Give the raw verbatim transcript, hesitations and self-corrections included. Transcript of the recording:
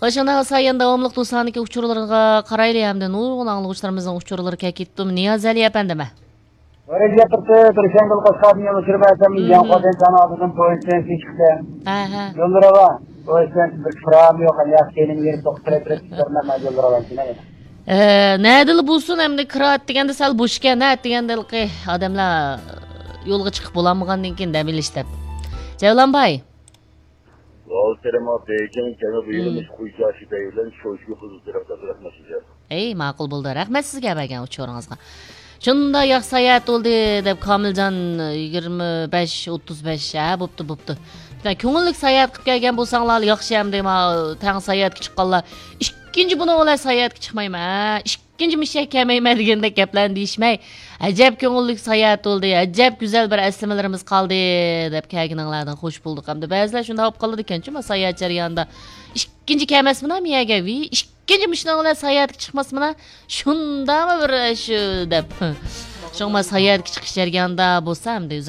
خوش، ئانا سايەن داۋاملىق دوستلارنىڭكى ئۇچۇرلىرىغا قارايلى ھەمدە نۇرغۇن ئاڭلىغۇچىلىرىمىزنىڭ ئۇچۇرلىرى كەلكىتتىم. نىياز ئەلى ئەپەندىمۇ؟ ۋە رەجەپ تۇرسۇن، تۇرسەن بىلقاسقادىن يەنە ئۇچۇر بەرسەم، مم. ياڭقادىن ساڭا ئالدىدىن پويىزدىن چىقتى. ھە، ھە. يوللىرى بار. پويىزدىن بىر كىرام يوق، ئەمدى ياخشى كەينىمگە يېرىپ توختىتىپ تۇرۇپ، تۇرۇپ، مەن يوللىرى بار. ئە، نەدىلا بولسۇن، ئەمدى كىرا دېگەندە سەل بوش ئىكەن، ھە، دېگەندە ھېلىقى ئادەملەر يولغا چىقىپ بولالمىغاندىن كېيىن دەم ئېلىش دەپ. جەۋلان باي. ۋاۋ، سېرىم ئاپا، بېكىڭ كەمە بۇ يىلى مم. مۇشۇ قۇيچاشى بەي بىلەن شويشۇ قىزىل تەرەپلەردە رەھمەت سىزگە. ئەي، ماقۇل بولدى. رەھمەت سىزگە بەرگەن ئۇچۇرىڭىزغا. شۇنداق ياخشى ساياھەت بولدى دەپ كامىلجان يىگىرمە بەش ئوتتۇز بەش، ھە، بوپتۇ، بوپتۇ. بىر كۆڭۈللۈك ساياھەت قىلىپ كەلگەن بولساڭلار ياخشى ئەمدى، ما، تەڭ ساياھەتكە چىققانلار. ئىككىنچى بۇنىڭ بىلەن ساياھەتكە چىقمايمەن، ھە؟ ئىككىنچى مۇشۇ يەرگە كەلمەيمەن دېگەندەك گەپلەرنى دېيىشمەي، ئەجەب كۆڭۈللۈك ساياھەت بولدى، ئەجەب گۈزەل بىر ئەسلىمىلىرىمىز قالدى دەپ كەلگىنىڭلاردىن خوش بولدۇق. ئەمدى بەزىلەر شۇنداق بولۇپ قالىدىكەنچۇ، ما، ساياھەت جەريانىدا ئىككىنچى كەلمەسمىنا مۇ يەرگە، ۋى، ئىككىنچى مۇشۇنىڭ بىلەن ساياھەتكە چىقماسمىنا، شۇنداقمۇ بىر شۇ دەپ. شۇڭا ساياھەتكە چىقىش جەريانىدا بولسا ئەمدى ئۆزۈڭ